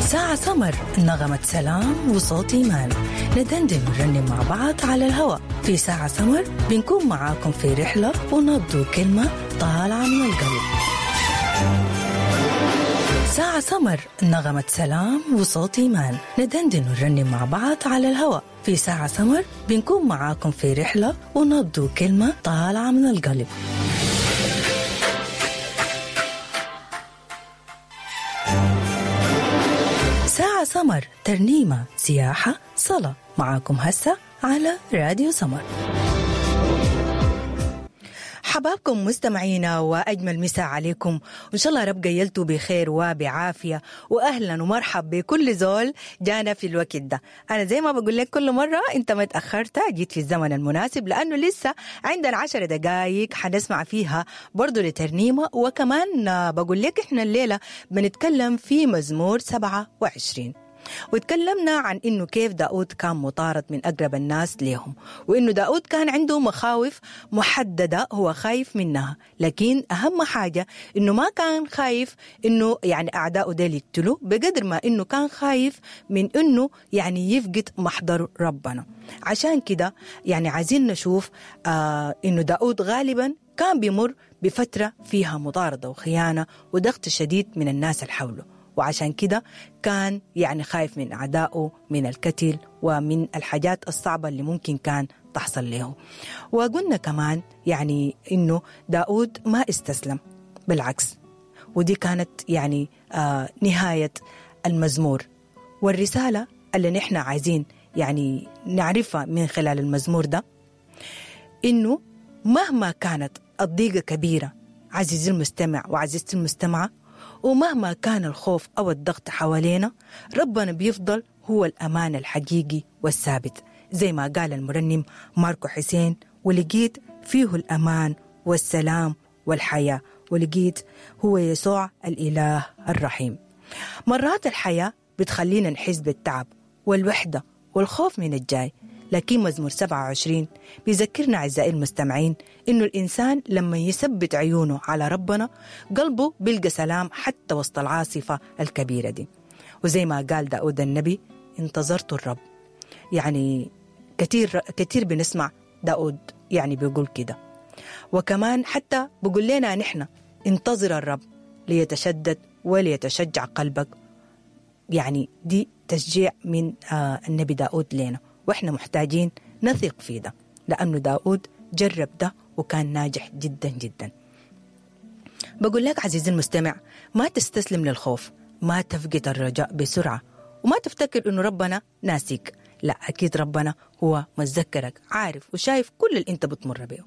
ساعة سمر، نغمة سلام وصوت إيمان، ندندن ونرنم مع بعض على الهواء. في ساعة سمر بنكون معاكم في رحلة ونبض وكلمة طالعة من القلب. ساعة سمر، نغمة سلام وصوت إيمان، ندندن ونرنم مع بعض على الهواء. في ساعة سمر بنكون معاكم في رحلة ونبض وكلمة طالعة من القلب. ساعة سمر، ترنيمة، سياحة، صلاة، معاكم هسه على راديو سمر. حبابكم مستمعينا، واجمل مساء عليكم، وان شاء الله رب قيلتوا بخير وبعافيه. واهلا ومرحب بكل زول جانا في الوقت ده. انا زي ما بقول لك كل مره، انت ما تاخرت، جيت في الزمن المناسب، لانه لسه عندنا 10 دقائق حنسمع فيها برضو لترنيمه. وكمان بقول لك احنا الليله بنتكلم في مزمور 27، وتكلمنا عن انه كيف داود كان مطارد من اقرب الناس ليهم، وانه داود كان عنده مخاوف محدده هو خايف منها، لكن اهم حاجه انه ما كان خايف انه يعني اعدائه ديل يقتلوه بقدر ما انه كان خايف من انه يعني يفقد محضر ربنا. عشان كده يعني عايزين نشوف انه داود غالبا كان بيمر بفتره فيها مطارده وخيانه وضغط شديد من الناس اللي حوله، وعشان كده كان يعني خايف من أعدائه، من القتل، ومن الحاجات الصعبة اللي ممكن كان تحصل له. وقلنا كمان يعني إنه داود ما استسلم، بالعكس، ودي كانت يعني نهاية المزمور. والرسالة اللي نحن عايزين يعني نعرفها من خلال المزمور ده إنه مهما كانت الضيقة كبيرة، عزيزي المستمع وعزيزتي المستمعة، ومهما كان الخوف أو الضغط حوالينا، ربنا بيفضل هو الأمان الحقيقي والثابت، زي ما قال المرنم ماركو حسين: ولقيت فيه الأمان والسلام والحياة، ولقيت هو يسوع الإله الرحيم. مرات الحياة بتخلينا نحس بالتعب والوحدة والخوف من الجاي، لكن مزمور 27 بيذكرنا أعزائي المستمعين إنه الإنسان لما يثبت عيونه على ربنا قلبه بيلقى سلام حتى وسط العاصفة الكبيرة دي. وزي ما قال داود النبي: انتظرت الرب. يعني كثير كثير بنسمع داود يعني بيقول كده، وكمان حتى بيقول لنا نحن: انتظر الرب ليتشدد وليتشجع قلبك. يعني دي تشجيع من النبي داود لنا، واحنا محتاجين نثق في ده، لأنه داود جرب ده وكان ناجح جدا جدا. بقول لك عزيزي المستمع، ما تستسلم للخوف، ما تفقد الرجاء بسرعة، وما تفتكر أنه ربنا ناسيك. لا، أكيد ربنا هو متذكرك، عارف وشايف كل اللي أنت بتمر به.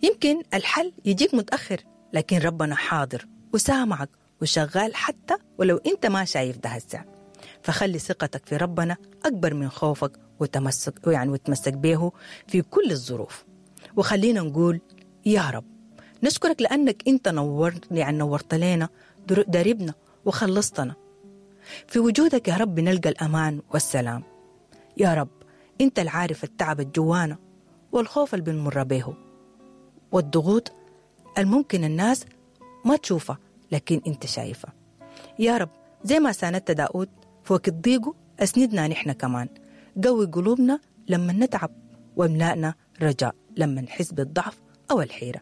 يمكن الحل يجيك متأخر، لكن ربنا حاضر وسامعك وشغال حتى ولو أنت ما شايف ده هسه. فخلي ثقتك في ربنا أكبر من خوفك وتمسك يعني وتمسك به في كل الظروف. وخلينا نقول: يا رب نشكرك لأنك أنت نورت، يعني نورت لنا دربنا وخلصتنا. في وجودك يا رب نلقى الأمان والسلام. يا رب أنت العارف التعب الجوانا والخوف اللي بنمر به والضغوط الممكن الناس ما تشوفها لكن أنت شايفها. يا رب زي ما ساندت داود في وقت ضيقه، أسندنا نحن كمان، قوي قلوبنا لما نتعب، واملأنا رجاء لما نحس بالضعف أو الحيرة.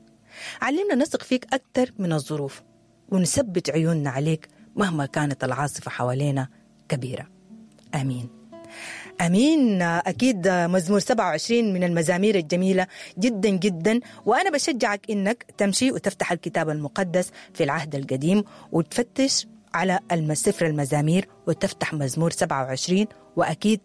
علمنا نثق فيك أكثر من الظروف ونثبت عيوننا عليك مهما كانت العاصفة حوالينا كبيرة. آمين امين. اكيد مزمور 27 من المزامير الجميله جدا جدا، وانا بشجعك انك تمشي وتفتح الكتاب المقدس في العهد القديم وتفتش على سفر المزامير وتفتح مزمور 27، واكيد